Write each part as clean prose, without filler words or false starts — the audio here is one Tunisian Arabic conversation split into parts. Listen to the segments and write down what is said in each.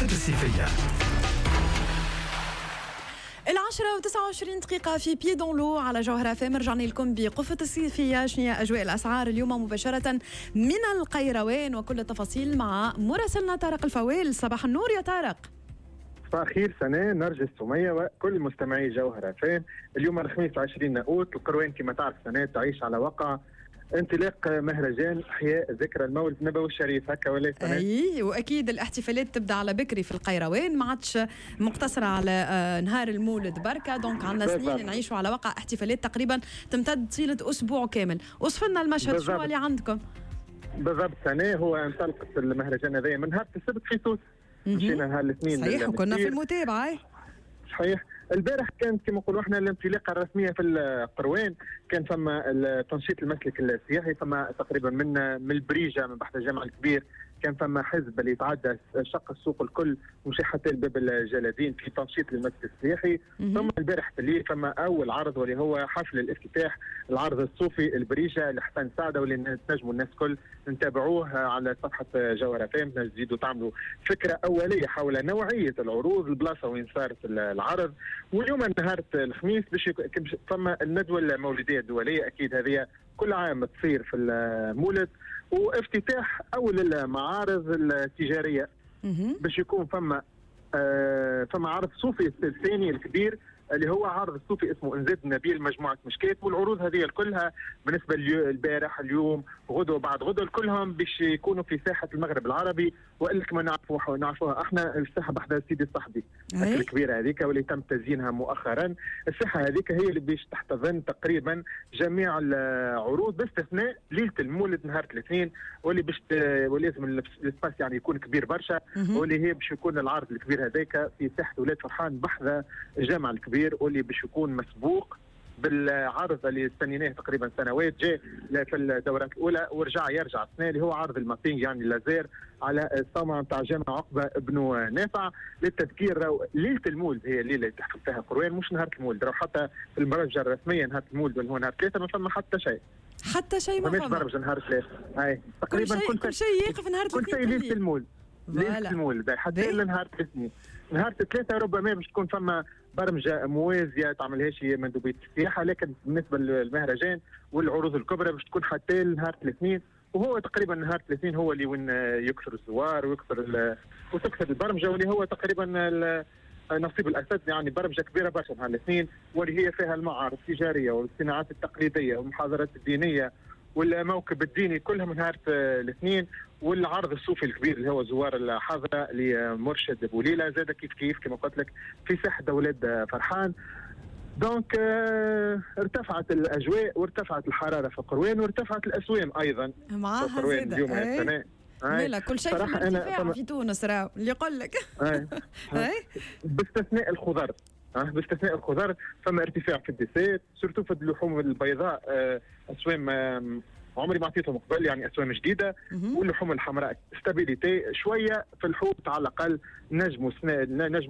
قفة الصيفية. 10:29 في Pieds dans l'eau على جوهرة FM. رجعنا لكم بقفة الصيفية. شنو هي أجواء الأسعار اليوم مباشرة من القيروان وكل التفاصيل مع مراسلنا طارق الفوال. صباح النور يا طارق. صباح الخير سناء، نرجس، سمية وكل مستمعي جوهرة FM. اليوم الخميس 20 أوت، القروان كما تعرف سناء تعيش على وقع انطلاق مهرجان احياء ذكرى المولد النبوي الشريف، هكا ولا سناء؟ اي، واكيد الاحتفالات تبدا على بكري في القيروان، ما عادش مقتصرة على نهار المولد بركه، donc عندنا سنين نعيشوا على وقع احتفالات تقريبا تمتد طيلة اسبوع كامل. وصف لنا المشهد، شنو اللي عندكم؟ بالضبط سناء، هو انطلقت المهرجان هذايا من نهار السبت في سوس، مشينا نهار الاثنين. صحيح، وكنا في المتابعة. صحيح، البارح كانت كما نقولوا احنا الانطلاقة الرسمية في القروان، كان فما تنشيط المسلك السياحي، فما تقريبا من البريجه من بحر الجامع الكبير كان فما حزب اللي يتعدى شق السوق الكل ومشي حتى الباب الجلادين في تنشيط المسلك السياحي. ثم البارح في الليل فما اول عرض واللي هو حفل الافتتاح، العرض الصوفي البريجه لحسن سعدة، واللي تنجموا الناس الكل نتابعوه على صفحة جوهرة FM، تزيدوا تعملوا فكرة اوليه حول نوعية العروض، البلاصة وين صارت العرض. واليوم نهار الخميس باش فما الندوة المولديه الدولية، اكيد هذه كل عام تصير في المولد، وافتتاح اول المعارض التجارية. باش يكون فما فما عرض صوفي الثاني الكبير اللي هو عرض الصوفي اسمه انزاد النبيل مجموعة مشكات. والعروض هذه كلها بالنسبة البارح، اليوم، غدوه، بعد غدوه، كلهم باش يكونوا في ساحة المغرب العربي، والا كما نعرفوها احنا الساحة بحذا سيدي الصحبي الكبيرة هذيك واللي تم تزيينها مؤخرا. الساحة هذيك هي اللي باش تحتضن تقريبا جميع العروض باستثناء ليلة المولد نهار الاثنين، واللي باش ولازم l'espace يعني يكون كبير برشا، واللي هي باش يكون العرض الكبير هذاك في ساحة ولاد فرحان بحذا الجامع الكبير، واللي باش يكون مسبوق بالعرض اللي استنيناه تقريبا سنوات، جاء في الدورات الاولى ورجع يرجع السنة، اللي هو عرض ال mapping يعني اللازير على الصومعه نتاع جامع عقبه ابن نافع. للتذكير، ليلة المولد هي الليلة اللي تحفل فيها قروان، مش نهار المولد. راهو حتى في المرجع الرسمية نهار المولد اللي هو نهار 3 ما فما حتى شيء، حتى شيء ما فما برمجة نهار 3. اي تقريبا كل شيء يقف نهار 3، كل شيء ليلة المولد، ليلة المولد حتى لنهار الاثنين. نهار 3 ربما باش تكون فما برمجة موازية تعملهاش مندوبيه السياحة، لكن بالنسبة للمهرجان والعروض الكبرى باش تكون حتى نهار الاثنين، وهو تقريبا نهار الاثنين هو اللي وين يكثر الزوار ويكثر وتكثر البرمجة، واللي هو تقريبا نصيب الاسد، يعني برمجة كبيرة برشا نهار الاثنين، واللي هي فيها المعارض التجارية والصناعات التقليدية والمحاضرات الدينية والموكب الديني كلها من نهار الاثنين. والعرض الصوفي الكبير اللي هو زوار الحاضرة لمرشد بوليله زاد كيف كيف كما قلت لك في ساحة اولاد فرحان. donc ارتفعت الاجواء وارتفعت الحرارة في القروان وارتفعت الاسوام ايضا معاها في القروان اليوم السنة. لا كل شيء في ارتفاع في تونس، راهو اللي يقول لك باستثناء الخضر، باستثناء الخضر فما ارتفاع في ال dessert، surtout في اللحوم البيضاء، اسوام عمري ما عطيتهم قبل، يعني اسوام جديدة. واللحوم الحمراء stabilité شوية في الحوت، على الاقل نجموا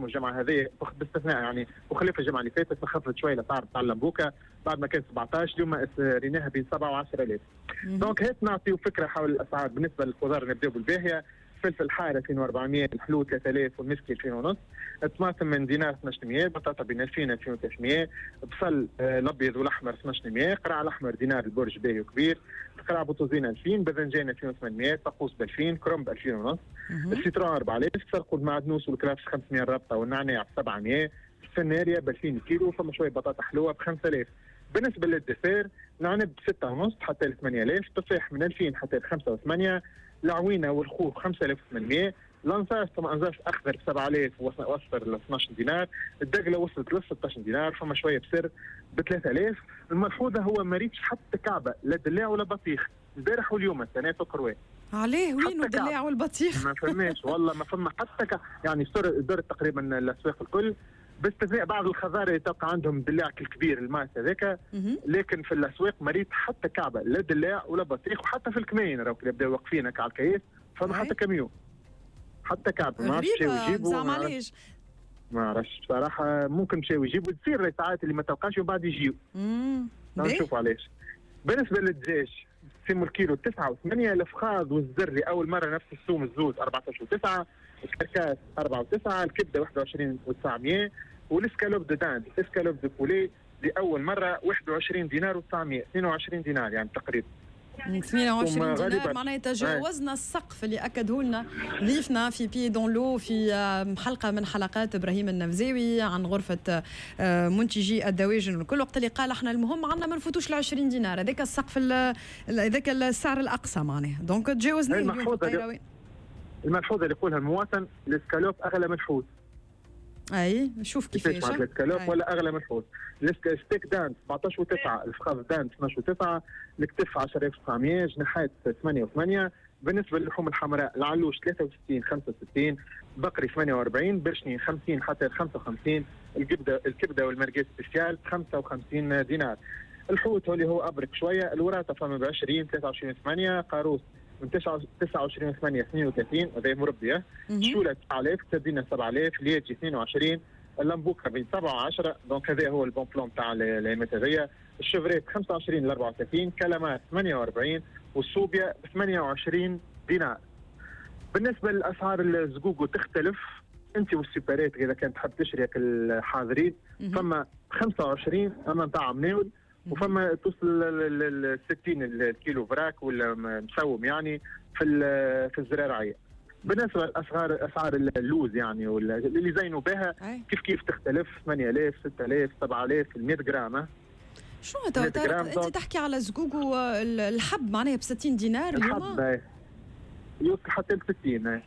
الجمعة هذه باستثناء يعني وخلاف الجمعة اللي فاتت خفضت شوية الاسعار تاع اللمبوكه بعد ما كان 17 اليوم ريناها بين 7 و10 آلاف. donc هات نعطيو فكرة حول الاسعار. بالنسبة للخضار نبداو بالباهيه، فلفل حار 2400، الحلو 3000، والمسكي 2000 ونص، الطماطم من دينار 1200، بطاطا بين 2000 2300، بصل الابيض والاحمر 1200، قرع الاحمر دينار البرج باهي وكبير، قرع بطوزين 2000، باذنجان 2800، طقوس ب 2000، كرنب 2000 ونص، ال citron 4000، سرقوا المعدنوس والكرافس 500 الرابطة والنعناع 700، السناريا ب 2000 كيلو، فما شوية بطاطا حلوة ب 5000. بالنسبة لل dessert العنب 6.5 حتى ل 8000، تفاح من 2000 حتى ل 5 و8، العوينة والخوخ 5800، الانصاص ثم انصاص اخضر ب 7000 واصفر ل 12 دينار، الدقله وصلت ل 16 دينار، فما شوية بسر ب 3000. الملحوظة هو ما ريتش حتى كعبه لا دلاع ولا بطيخ البارح واليوم السنة في القروان. عليه وين الدلاع والبطيخ؟ ما فماش والله، ما فما حتى كعبة. يعني درت تقريبا الاسواق الكل باستثناء بعض الخضار اللي تلقى عندهم دلاع الكبير الماس هذاك، لكن في الاسواق ما ريت حتى كعبه لا دلاع ولا بطيخ، وحتى في الكماين راهو كي يبداو واقفين على الكياس فما حتى كاميون حتى كعبه ما عرفتش يجيبوا. زعما علاش؟ ما عرفتش بصراحة، ممكن مشاو يجيبوا، تصير ساعات اللي ما تلقاش ومن بعد يجيو. نشوفوا علاش. بالنسبة للدجاج سيمو الكيلو 9 و8، الافخاذ والزر لاول مرة نفس السوم الزوز 14 و9، ال carcasse 4 و9، الكبده 21 و900، وال escalope de dinde، escalope de poulet لاول مرة 21 دينار و900، 22 دينار يعني تقريبا. 22 دينار معناها تجاوزنا السقف اللي اكده لنا ضيفنا في pied dans l'eau في حلقة من حلقات ابراهيم النفزاوي عن غرفة منتجي الدواجن وكل وقت اللي قال احنا المهم عندنا ما نفوتوش ال 20 دينار، هذاك السقف، هذاك السعر الاقصى معناها، donc تجاوزناه اليوم. الملحوظة اللي يقولها المواطن، الاسكالوب اغلى من الحوت. اي شوف كيفاش الاسكالوب ولا اغلى من الحوت. steak dinde 17 و9، الفخذ dinde 12 و9، الكتف 10900، جناحات 8 و8. بالنسبة للحوم الحمراء، العلوش 63 65، بقري 48، برشني 50 حتى 55، الكبده والمرقاز spécial 55 دينار. الحوت اللي هو ابرك شويه، الوراثة فما ب 20 23 8، قاروس من 29 8 32، هذا مربيه، شوله 9000، سردينه 7000، الياجي 22، اللمبوكه بين 7 و10، donc هذا هو ال bon plan تاع الايامات هذيا. ال chevrette 25 ل 34، كلامات 48، والصوبيا ب 28 دينار. بالنسبة لاسعار الزقوقو تختلف انت وال supérette، اذا كانت تحب تشري الحاضرين فما 25 اما نتاع مناول، وفما توصل ل 60 الكيلو vrac ولا مسوم يعني في الزرارعيه. بالنسبة لاسعار اسعار اللوز يعني ولا اللي زينوا بها كيف كيف تختلف، 8000 6000 7000 100 غرام. شنو انت تحكي على زقوقو الحب معناها ب 60 دينار اليوم؟ الحب يوصل حتى ل 60.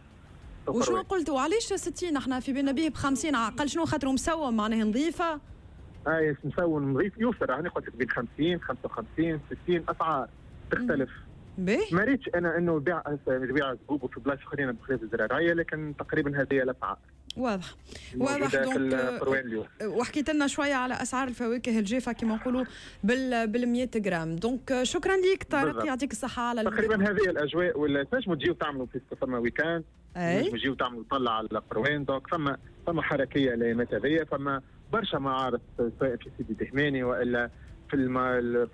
وشنو قلت وعلاش 60؟ احنا في بالنا به ب 50 اقل، شنو خاطر مسوم معناها نظيفة؟ اي مسوم نظيف يوصل، انا قلت لك بين 50 55 60 اسعار تختلف. ما ريتش انا انه بيع زقوقو في بلايص اخرين بخلاف الزراعية، لكن تقريبا هذه الاسعار. واضح واضح. donc وحكيت لنا شوية على اسعار الفواكه الجافه كما نقولوا بال 100 غرام، donc شكرا لك طارق، يعطيك الصحة على تقريبا هذه الاجواء. ولا تنجموا تجيو تعملوا في فما week-end، تنجموا تجيو تعملوا طلع على القروان، donc فما حركية الايامات هذيا، فما برشا معارض سواء في سيدي دهماني والا في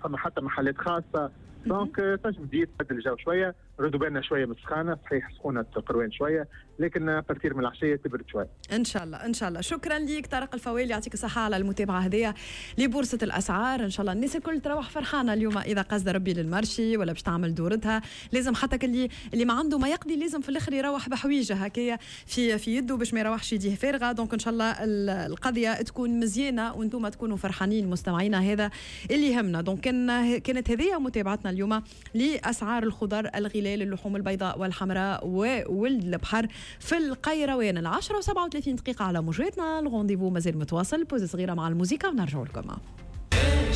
فما حتى محلات خاصة، donc تنجم تجي تبدل الجو شوية، ردوا بالنا شوية من السخانه، صحيح سخونة القروان شوية، لكن à partir من العشية تبرد شوية. ان شاء الله ان شاء الله. شكرا لك طارق الفوالي، يعطيك الصحة على المتابعة هذيا لبورصه الاسعار. ان شاء الله الناس الكل تروح فرحانة اليوم اذا قصد ربي لل marché ولا باش تعمل دورتها، لازم حتى اللي ما عنده ما يقضي لازم في الاخر يروح بحويجه هكايا في يده باش ما يروحش يديه فارغة. donc ان شاء الله القضية تكون مزيانه وانتم تكونوا فرحانين مستمعينا، هذا اللي يهمنا. donc كانت هذه متابعتنا اليوم لاسعار الخضر، الغلال، اللحوم البيضاء والحمراء وولد البحر في القيروان. 10:37 على موجاتنا، ال rendez-vous مازال متواصل، pause صغيرة مع الموسيقى ونرجع لكم.